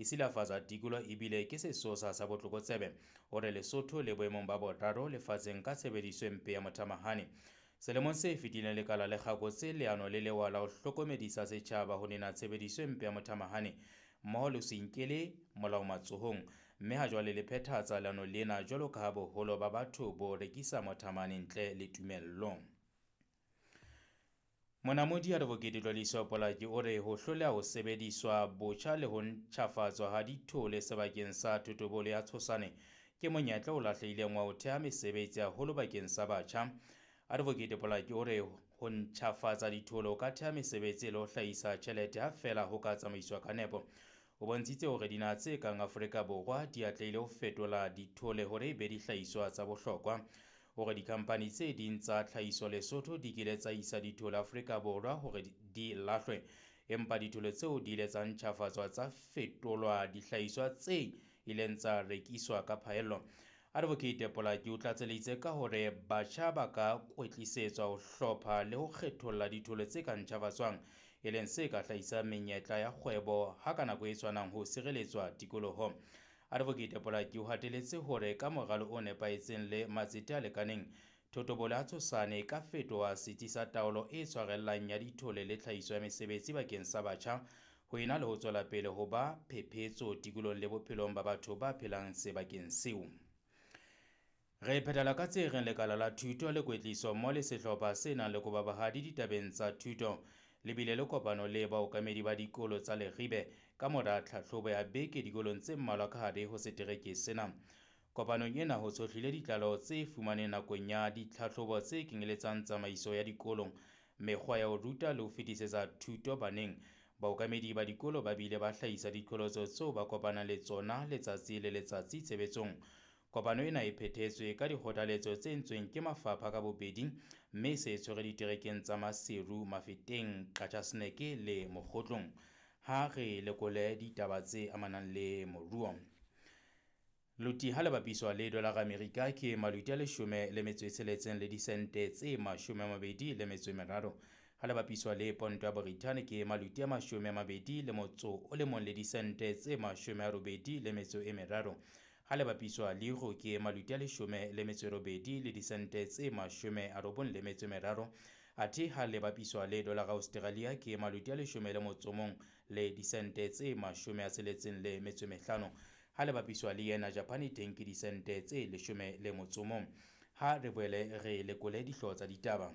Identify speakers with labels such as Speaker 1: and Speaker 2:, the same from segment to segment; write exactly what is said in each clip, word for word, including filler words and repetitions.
Speaker 1: e silafatsa tikoloho ebile ke sesosa sa botlokotsebe. O re Lesotho le boemong ba boraro lefatsheng ka tshebediso e mpe ya mothamahane. Selemong se fetileng lekala le kgakotse leano le lewa la ho hlokomedisa setjhaba ho nena tshebediso e mpe ya mothamahane mmoho le ho se inkele molao matsohong, mme ha jwale le phethahatsa leano lena jwalo ka ha boholo ba batho bo rekisa mothamahane ntle le tumello. Monamodi Advocate Tloliso Polaki o re ho hloleha ho sebediswa botjha le ho ntjhafatswa ha dithole sebakeng sa thotobolo ya Tshosane ke monyetla o lahlehileng wa ho theha mesebetsi haholo bakeng sa batjha. Advocate Polaki o re ho ntjhafatsa dithole ho ka theha mesebetsi le ho hlahisa tjhelete ha feela ho ka tsamaiswa ka nepo. O bontshitse hore dinaha tse kang Afrika Borwa di atlehile ho fetola dithole hore e be dihlahiswa tsa bohlokwa. Hore dikhamphani tse ding tsa tlhahiso Lesotho di kile tsa isa dithole Afrika Borwa hore di lahlwe, empa dithole tseo di ile tsa ntjhafatswa tsa fetolwa dihlahiswa tse ileng tsa rekiswa ka phaello. Advocate Polaki o tlatselitse ka hore batjha ba ka kwetlisetswa ho hlopha le ho kgetholla dithole tse ka ntjhafatswang, e leng se ka hlahisang menyetla ya kgwebo ha ka nako e tshwanang ho sireletswa tikoloho. Advocate Polaki o hateletse hore ka moralo o nepahetseng le matsete a lekaneng, thotobolo ya Tshosane e ka fetoha setsi sa taolo e tshwarellang ya dithole le tlhahiso ya mesebetsi bakeng sa batjha, ho ena le ho tswela pele ho ba phephetso tikolohong le bophelong ba batho ba phelang sebakeng seo. Re phethela ka tse reng lekala la thuto le kwetliso mmoho le sehlopha se nang le kobabahadi ditabeng tsa thuto le bile le kopano le baokamedi ba dikolo tsa Leribe ka mora tlhahlobo ya beke dikolong tse mmalwa ka hare ho setereke sena. Kopanong ena ho tshohlile ditlaleho tse fumaneng nakong ya ditlhahlobo tse kenyeletsang tsamaiso ya dikolo, mekgwa ya ho ruta le ho fetisetsa thuto baneng. Baokamedi ba dikolo ba bile ba hlahisa diqholotso tseo ba kopanang le tsona letsatsi le letsatsi tshebetsong. Kopano ena e phethetswe ka dikgothaletso tse entsweng ke mafapha ka bobedi, mme e se e tshwere diterekeng tsa Maseru, Mafeteng, Qacha's Nek le Mokgotlong. Ha re lekole ditaba tse amanang le moruo. Loti ha le bapiswa le dolara Amerika ke maluti a leshome le metso e tsheletseng le disente tse mashome a mabedi le metso e meraro. Ha le bapiswa le ponto ya Borithane ke maluti a mashome a mabedi le motso o le mong le disente tse mashome a robedi le metso e meraro. Ha le bapiswa le euro ke maluti a leshome le metso e robedi le disente tse mashome a robong le metso e meraro. Athe ha le bapiswa le dolara Australia ke maluti a leshome le motso mong le disente tse mashome a tsheletseng le metso e mehlano. Ha le bapiswa le yena Japan teng ke disente tse leshome le motso mong. Ha re boele re lekole dihlooho tsa ditaba.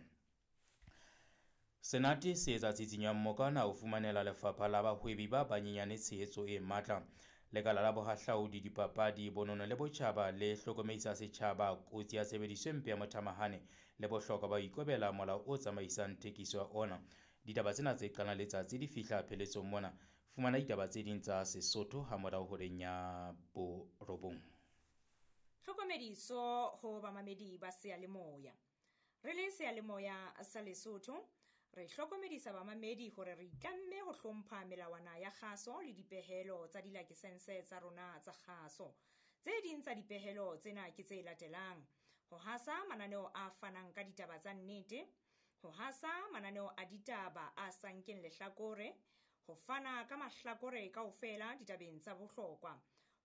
Speaker 1: Senate se etsa tsitsinyo ya mmokana ho fumanela lefapha la bahwebi ba banyenyane tshehetso e matla. Lekala la bohahlaudi, dipapadi, bonono le botjhaba le hlokomedisa setjhaba kotsi ya tshebediso e mpe ya mothamahane le bohlokwa ba ho ikobela molao o tsamaisang thekiso ya ona. Ditaba tsena tse qalang letsatsi di fihla pheletsong mona. Fumana ditaba tse ding tsa Sesotho ha morao horeng ya borobong.
Speaker 2: Tlhokomediso ho bamamedi ba seyalemoya. Re le seyalemoya sa Lesotho, re hlokomedisa bamamedi hore re itlamme ho hlompha melawana ya kgaso le dipehelo tsa dilakesense tsa rona tsa kgaso. Tse ding tsa dipehelo tsena ke tse latelang: ho hasa mananeo a fanang ka ditaba tsa nnete, ho hasa mananeo a ditaba a sa nkeng lehlakore, ho fana ka mahlakore kaofela ditabeng tsa bohlokwa,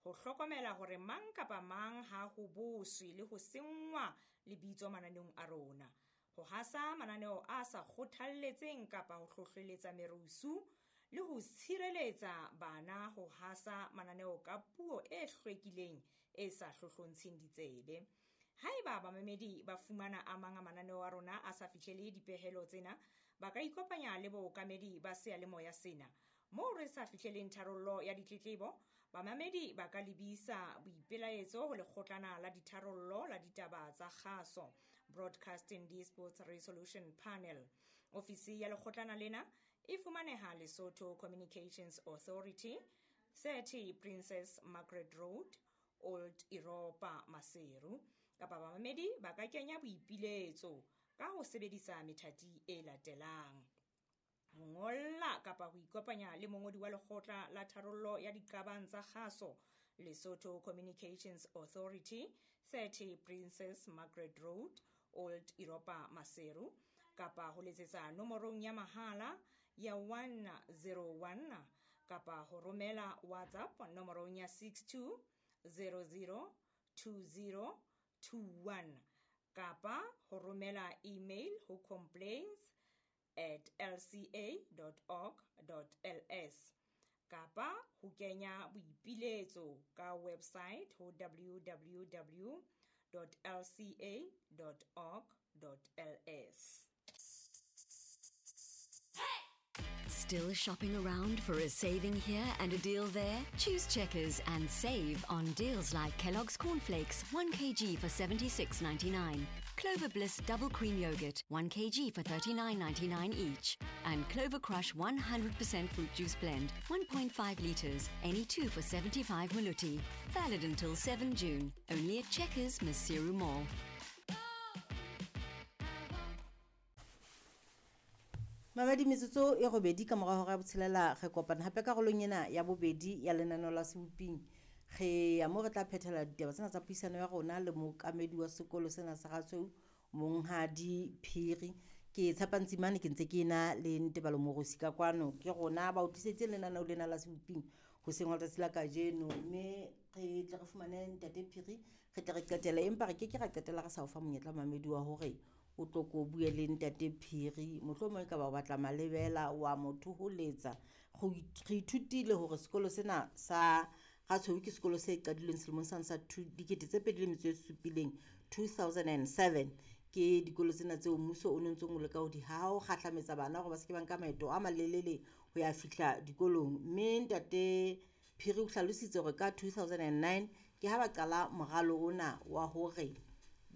Speaker 2: ho hlokomela hore mang kapa mang ha ho boswe le ho senngwa lebitso mananeong a rona, ho hasa mananeo a sa kgothalletseng kapa ho hlohleletsa merusu le ho tshireletsa bana ho hasa mananeo ka puo e hlwekileng e sa hlohlontsheng ditsebe. Haeba bamamedi ba fumana a mang a mananeo a rona a sa fihlele dipehelo tsena, ba ka ikopanya le bookamedi ba seyalemoya sena. Moo re sa fihleleng tharollo ya ditletlebo, bamamedi ba ka lebisa boipelaetso ho lekgotlana la ditharollo la ditaba tsa kgaso, Broadcasting Disputes Resolution Panel. Ofisi ya lekgotlana lena e fumaneha Lesotho Communications Authority, thirty Princess Margaret Road, Old Europa, Maseru. Kapa bamamedi ba ka kenya boipiletso ka ho sebedisa methati e latelang: ho ngolla kapa ho ikopanya le mongodi wa lekgotla la tharollo ya diqabang tsa kgaso, Lesotho Communications Authority, thirty Princess Margaret Road, Old Europa, Maseru, kapa ho letsetsa nomorong ya mahala ya one zero one kapa ho romela WhatsApp nomorong ya six two zero zero two zero two one kapa ho romela email ho complaints at l c a dot org dot l s kapa ho kenya boipiletso ka website ho w w w dot l c a dot org dot l s.
Speaker 3: Still shopping around for a saving here and a deal there? Choose Checkers and save on deals like Kellogg's Cornflakes, one kilogram for seventy-six ninety-nine, Clover Bliss Double Cream Yogurt, one kilogram for thirty-nine ninety-nine each, and Clover Crush one hundred percent Fruit Juice Blend, one point five litres, any two for seventy-five Maluti. Valid until seven June, only at Checkers, Maseru Mall.
Speaker 4: Mamedi metsotso e robedi ka mora hora ya botshelela re kopana hape karolong ena ya bobedi ya lenaneo la Seboping. Re ya mo re tla phethela ditaba tsena tsa puisano ya rona le mookamedi wa sekolo sena sa Ratshweu, Monghadi Phiri. Ke tshepa Ntsimane ke ntse ke ena le Ntebalo Morosi ka kwano. Ke rona ba utlwisitse lenaneo lena la Seboping hoseng hwa letsatsi la kajeno, mme re tle re fumane Ntate Phiri, re tle re qetele, empa re ke ke ra qetela re sa o fa monyetla mamedi wa hore o tlo ko bue le Ntate Phiri. Mohlomong e ka ba o batla malebela wa motho ho letsa. Re ithutile hore sekolo sena sa Ratshweu ke sekolo se qadilweng selemong sane sa dikete tse pedi le metso e supileng, two thousand and seven. Ke dikolo tsena tseo mmuso o no ntsong o leka ho di haha ho kgahlametsa bana hore ba se ke ba nka maeto a malelele ho ya fihla dikolong. Mme Ntate Phiri o hlalositse hore ka two thousand and nine ke ha ba qala moralo ona wa hore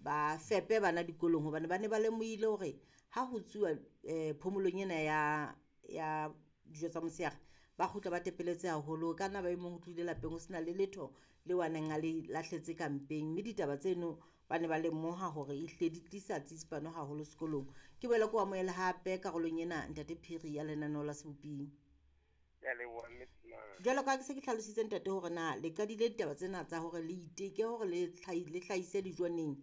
Speaker 4: ba fepe bana dikolong, hobane ba ne ba lemohile hore ha ho tsuwa eh phomolong ena ya ya dijo tsa motshehare ba kgutla ba tepeletse haholo. Ka nna ba e mong o tlile lapeng ho sena le letho le wa neng a le lahletse ka mpeng, mme ditaba tseno ba ne ba lemoha hore ehlile di tlisa tsitsipano haholo sekolong. Ke boela ke o amohele hape karolong ena Ntate Phiri ya lenaneo la Seboping. Jwalo ka ha ke se ke hlalositse ntate hore na le qadile ditaba tsena tsa hore le iteke hore le le hlahise dijo neng.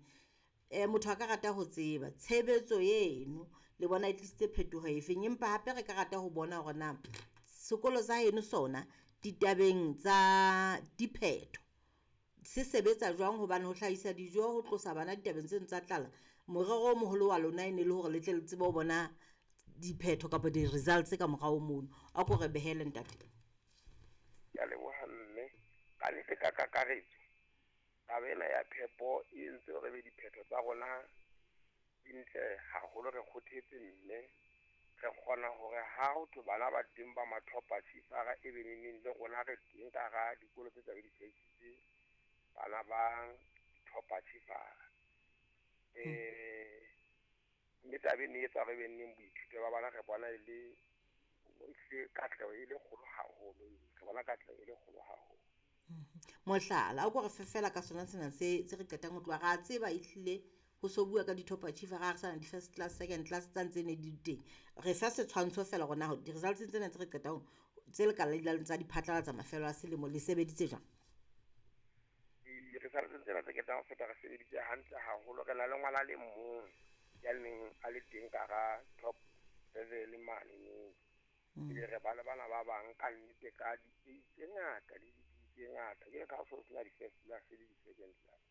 Speaker 4: Eh motho a ka rata ho tseba tshebetso eno le bona e tlisitse phetoho efeng, empa hape re ka rata ho bona hore na sekolo sa heno sona ditabeng tsa diphetho se sebetsa jwang, hobane ho hlahisa dijo ho tlosa bana ditabeng tseno tsa tlala, morero o moholo wa lona e ne le hore le tle le tsebe ho bona diphetho kapa di-results ka morao mono. A ko re behele ntate.
Speaker 5: Ke a leboha mme. Ka nnete ka kakaretso taba ena ya phepo e entse hore be diphetho tsa rona di ntle haholo. Re kgothetse mme re kgona hore ha ho thwe bana ba teng ba mathopa tshifara e be neneng le rona re teng ka hara dikolo tse tlabe di hlahisitse bana ba dithopa tshifara. Eh mme taba ena e etsa hore be neng boithuto ba bana re bona e le ehlile katleho e le kgolo haholo, re bona katleho e le kgolo haholo.
Speaker 4: Mohlala, o ko re fefela ka sona sena se se re qetang ho tloha, ra tseba ehlile ho so bua ka di-top achiever, ra re sana di-first class, second class tsa ntse ne di teng. Re fa setshwantsho fela hore na di-results tsena tse re qetang tse le ka la tsa di phatlalatsa mafelo a selemo le sebeditse jwang?
Speaker 5: Di-results tsena tse qetang ho feta re sebeditse hantle haholo. Re na le ngwana le mong ya neng a le teng ka hara top level mane moo. Ebe re ba le bana ba bang ka nnete ka di-A tse ngata le di-B tse ngata. Jwale ka ha ho so sena di-first class le di-second class,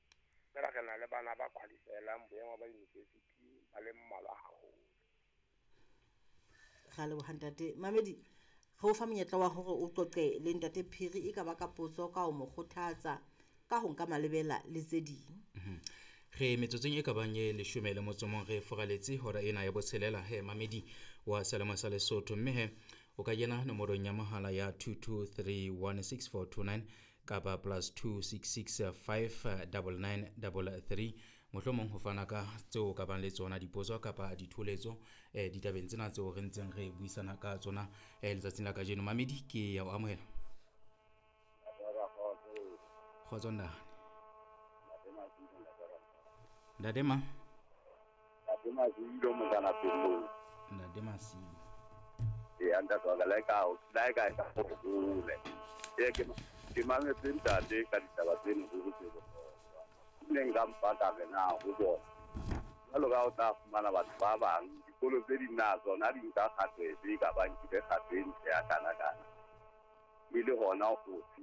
Speaker 5: fela re na le bana ba qualify-elang boemo ba university ba le mmalwa haholo.
Speaker 4: Ra leboha ntate. Mamedi, re o fa monyetla wa hore o qoqe le Ntate Phiri, e ka ba ka potso, ka ho mo kgothatsa, ka ho nka malebela le tse ding.
Speaker 1: Re metsotsong e ka bang e leshome le motso mong re furaletse hora ena ya botshelela he mamedi wa Selemo sa Lesotho, mme he o ka kena nomorong ya mohala ya two two three one six four two nine kapa plus two six six five double nine double three, mohlomong ho fana ka tseo ka bang le tsona dipotso kapa ditholetso eh ditabeng tsena tseo re ntseng re buisana ka tsona eh letsatsing la kajeno. Mamedi, ke ya o amohela. Kgotso ntate. Ntate ma?
Speaker 6: Ntate Masilo motana pelo.
Speaker 1: Ntate Masilo.
Speaker 6: E ntate wa ka le ka o le ka ka hole. E ke ke mametse ntate ka ditaba tseno tse tse bohlokwa. Nne nka mpata re na ho bona. Jwalo ka o tla fumana batho ba bang dikolo tse ding na tsona di nka kgato efe ka bang ke kgato e ntle ya kana kana. E le hona ho tshehetsa